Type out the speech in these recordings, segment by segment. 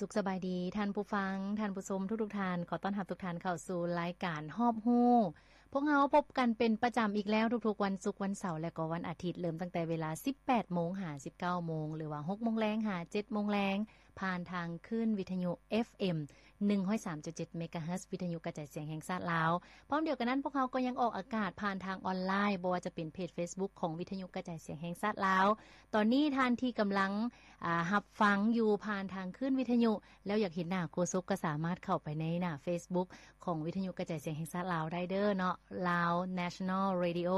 ສຸກສະບາຍດີທ່ານຜູ້ຟັງ, ທ່ານຜູ້ຊົມທຸກໆທ່ານ. ຂໍຕ້ອນຮັບທຸກທ່ານເຂົ້າສູ່ລາຍການຮອບຮູ້. ພວກເຮົາພົບກັນເປັນປະຈຳອີກແລ້ວທຸກໆວັນສຸກ, ວັນເສົາ ແລະ ກໍວັນອາທິດ, ເລີ່ມຕັ້ງແຕ່ເວລາສິບແປດໂມງຫາສິບເກົ້າໂມງ ຫຼືວ່າຫົກໂມງແລງຫາເຈັດໂມງແລງ, ຜ່ານທາງຄື້ນວິທະຍຸ ເອັຟເອັມ ໜຶ່ງຮ້ອຍສາມຈຸດເຈັດ ເມກາເຮີດ ວິທະຍຸກະຈາຍສຽງແຫ່ງຊາດລາວ. ພ້ອມດຽວກັນນັ້ນ, ພວກເຮົາກໍຍັງອອກອາກາດຜ່ານທາງອອນລາຍ, ບໍ່ວ່າຈະເປັນເພຈເຟສບຸກຂອງວິທະຍຸກະຈາຍສຽງແຫ່ງຊາດລາວ. ຕອນນີ້ທ່ານທີ່ກຳລັງ ອ່າ ຮັບຟັງຢູ່ຜ່ານທາງຄື້ນວິທະຍຸ ແລ້ວຢາກເຫັນໜ້າໂຄສົກ ກໍສາມາດເຂົ້າໄປໃນໜ້າເຟສບຸກຂອງວິທະຍຸກະຈາຍສຽງແຫ່ງຊາດລາວໄດ້ເດີເນາະ, Lao National Radio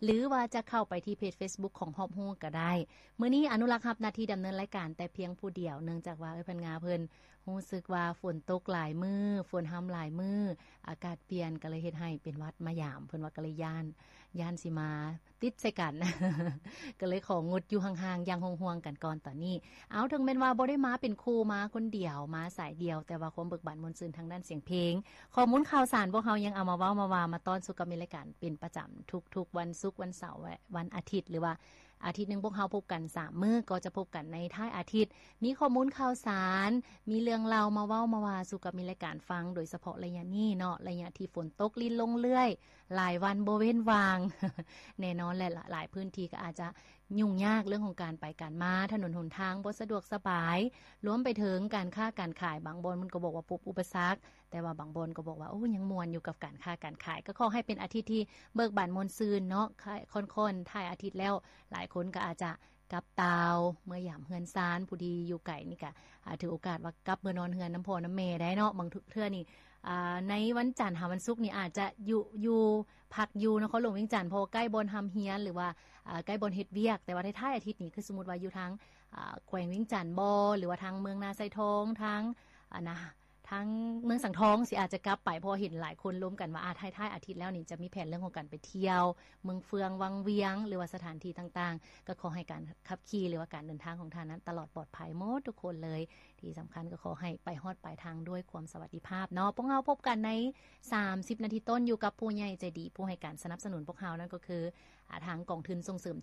ຫຼືວ່າຈະເຂົ້າໄປທີ່ເພຈເຟສບຸກຂອງຮອບຮູ້ກໍໄດ້. ມື້ນີ້ອະນຸລັກຮັບໜ້າທີ່ດຳເນີນລາຍການແຕ່ພຽງຜູ້ດຽວ, ເນື່ອງຈາກວ່າເອື້ອຍພັນງາເພິ່ນຮູ້ສຶກວ່າຝົນຕົກຫຼາຍມື້, ຝົນຮຳຫຼາຍມື້, ອາກາດປ່ຽນ, ກໍເລີຍເຮັດໃຫ້ເປັນຫວັດມາຢາມ. ເພິ່ນວ່າກໍເລີຍຢ້ານ, ຢ້ານຊິມາ ຕິດໃສ່ກັນ ກໍເລີຍຂໍງົດຢູ່ຫ່າງໆຢ່າງຫ່ວງໆກັນກ່ອນຕອນນີ້. ເອົາ ເຖິງແມ່ນວ່າບໍ່ໄດ້ມາເປັນຄູ່, ມາຄົນດຽວ, ມາສາຍດຽວ, ແຕ່ວ່າຄວາມເບີກບານມ່ວນຊື່ນທາງດ້ານສຽງເພງ, ຂໍ້ມູນຂ່າວສານ ພວກເຮົາຍັງເອົາມາເວົ້າມາວ່າມາຕ້ອນສູ່ກັບມິດລາຍການເປັນປະຈຳທຸກໆວັນສຸກ, ວັນເສົາ ແລະ ວັນອາທິດ ຫຼືວ່າອາທິດໜຶ່ງພວກເຮົາພົບກັນສາມມື້, ກໍຈະພົບກັນໃນທ້າຍອາທິດ, ມີຂໍ້ມູນຂ່າວສານ, ມີເລື່ອງເລົ່າມາເວົ້າມາວ່າສູ່ກັບມິດລາຍການຟັງ, ໂດຍສະເພາະໄລຍະນີ້ເນາະ, ໄລຍະທີ່ຝົນຕົກລິນລົງເລື້ອຍ ຫຼາຍວັນບໍ່ເວັ້ນວ່າງ. ແນ່ນອນແຫຼະ ຫຼາຍພື້ນທີ່ກໍອາດຈະຫຍຸ້ງຍາກເລື່ອງຂອງການໄປການມາ, ຖະໜົນຫົນທາງບໍ່ສະດວກສະບາຍ, ລວມໄປເຖິງການຄ້າການຂາຍ, ບາງບ່ອນເພິ່ນກໍບອກວ່າພົບອຸປະສັກ, ແຕ່ວ່າບາງບ່ອນກໍບອກວ່າ ໂອ້ ຍັງມ່ວນຢູ່ກັບການຄ້າການຂາຍ. ກໍຂໍໃຫ້ເປັນອາທິດທີ່ເບີກບານມ່ວນຊື່ນເນາະ, ຄ່ອຍ ຄ່ອນໆ ທ້າຍອາທິດແລ້ວ ຫຼາຍຄົນກໍອາດຈະກັບຕ່າວເມືອຢາມເຮືອນຊານ, ຜູ້ທີ່ຢູ່ໄກນີ້ກໍ ອ່າ ຖືໂອກາດວ່າກັບເມືອນອນເຮືອນນຳພໍ່ນຳແມ່ໄດ້ເນາະ. ບາງເທື່ອນີ້ ອ່າ ໃນວັນຈັນຫາວັນສຸກນີ້ອາດຈະຢູ່ ຢູ່ ພັກຢູ່ນະຄອນຫຼວງວຽງຈັນ ເພາະວ່າໃກ້ບ່ອນຮ່ຳຮຽນ ຫຼືວ່າ ອ່າ ໃກ້ບ່ອນເຮັດວຽກ, ແຕ່ວ່າທ້າຍໆອາທິດນີ້ ຄືສົມມຸດວ່າຢູ່ທາງ ອ່າ ແຂວງວຽງຈັນບໍ ຫຼືວ່າທາງເມືອງນາຊາຍທອງ ທາງ ອ່າ ນະ ທາງເມືອງສັງທອງ ຊິອາດຈະກັບໄປ, ເພາະວ່າເຫັນຫຼາຍຄົນລົມກັນວ່າ ອາ ທ້າຍໆອາທິດແລ້ວນີ້ຈະມີແຜນເລື່ອງຂອງການໄປທ່ຽວເມືອງເຟືອງວັງວຽງ ຫຼືວ່າສະຖານທີ່ຕ່າງໆ. ກໍຂໍໃຫ້ການຂັບຂີ່ ຫຼືວ່າການເດີນທາງຂອງທ່ານນັ້ນຕະຫຼອດປອດໄພໝົດທຸກຄົນເລີຍ. ທີ່ສຳຄັນກໍຂໍໃຫ້ໄປຮອດປາຍທາງດ້ວຍຄວາມສະຫວັດດີພາບເນາະ. ພວກເຮົາພົບກັນໃນສາມສິບນາທີຕົ້ນ ຢູ່ກັບຜູ້ໃຫຍ່ໃຈດີ ຜູ້ໃຫ້ການສະໜັບສະໜູນພວກເຮົາ, ນັ້ນກໍຄື ອ່າ ທາງກອງທຶນສົ່ງເສີມຈຸ